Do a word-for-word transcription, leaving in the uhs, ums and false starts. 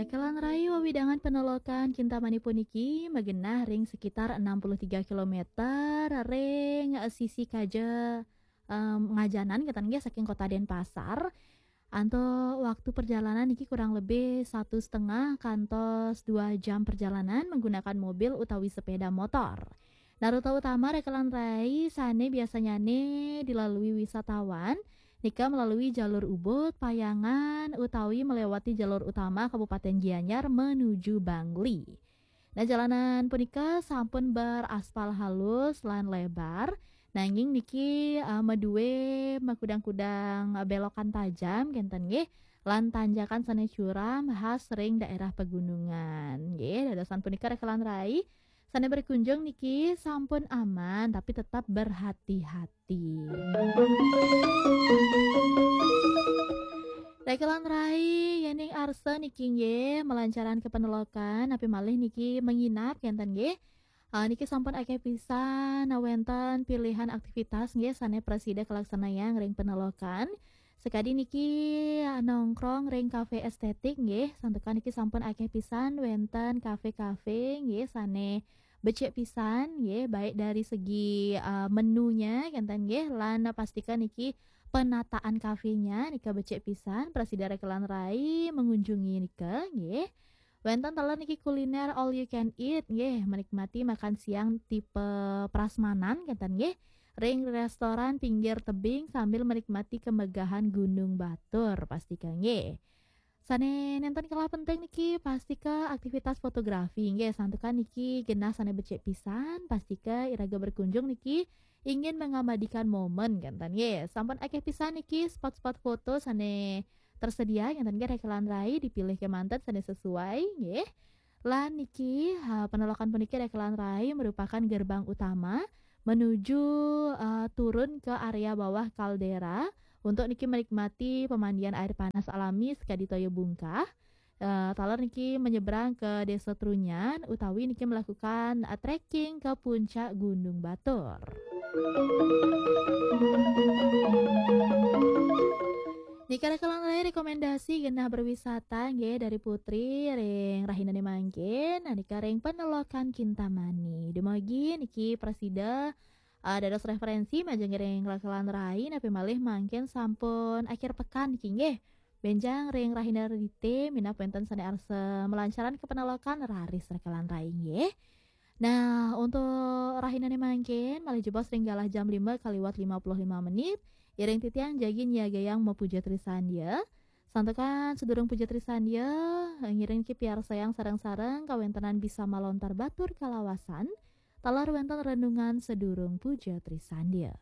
Rekelan rai, wewidangan penelokan Kintamani puniki magenah ring sekitar enam puluh tiga kilometer ring sisi kaja, em, ngajanan, kenten nggih, saking Kota Denpasar. Antuk waktu perjalanan niki kurang lebih satu setengah kantos dua jam perjalanan menggunakan mobil utawi sepeda motor. Nah, rute utama Rekelan Rai sane biasanyane dilalui wisatawan nika melalui jalur Ubud, Payangan, utawi melewati jalur utama Kabupaten Gianyar menuju Bangli. Nah, jalanan punika sampun beraspal halus lan lebar, nanging niki, eh, madue makudang-kudang, eh, belokan tajam, kenten nggih, lan tanjakan sane curam khas ring daerah pegunungan. Nggih, dadosan punika Rekelan Rai sane berkunjung niki sampun aman, tapi tetap berhati-hati. Rekelan Rai, yening arsa niki nggih, malancaran ke penelokan, napi malih niki menginap, kenten nggih. Ah, niki sampun akeh pisan, nah, wenten pilihan aktivitas nggih sane prasida kalaksanayang ring penelokan. Sakadi niki, ah, nongkrong ring kafe estetik nggih, santukan niki sampun akeh pisan wenten kafe-kafe nggih sane becik pisan nggih, baik dari segi, ah, menunya kenten nggih, lan pastika niki penataan kafenya nika becik pisan, prasida Rekelan Rai mengunjungi nika nggih. Wenten taler niki kuliner all you can eat nggih, menikmati makan siang tipe prasmanan kenten nggih, ring restoran pinggir tebing sambil menikmati kemegahan Gunung Batur, pastika nggih. Sane nenten kalah penting niki, pastika aktivitas fotografi nggih, santukan niki genah sane becik pisan, pastika iraga berkunjung niki ingin mengabadikan momen kenten nggih. Sampun akeh pisan niki spot-spot foto sane tersedia kenten nggih, Rekelan Rai dipilih kemanten sane sesuai nggih. Lan niki, ha, penelokan puniki Rekelan Rai merupakan gerbang utama menuju, eh, turun ke area bawah kaldera untuk niki menikmati pemandian air panas alami sekadi toya bungkah. Eh, taler niki menyeberang ke Desa Trunyan utawi niki melakukan, eh, trekking ke puncak Gunung Batur. Nika Rekelan Rai rekomendasi genah berwisata nggih dari Putri ring rahinane mangkin, nah, nika ring penelokan Kintamani. Dumugi niki prasida, ah, dados referensi majeng ring Rekelan Rai, napi malih mangkin sampun akhir pekan niki nggih. Benjang ring rahina Redite, minab wenten sane arsa malancaran ke penelokan, raris Rekelan Rai nggih. Nah, untuk rahinane mangkin, malih jebos ring galah jam lima kaliwat lima puluh lima menit, iring titiang jagi nyiagayang mapuja trisandia. Santukan sadurung puja trisandia, ngiring niki piarsayang sareng-sareng kawentenan bisa malontar batur kalawasan, taler wenten renungan sadurung puja trisandia.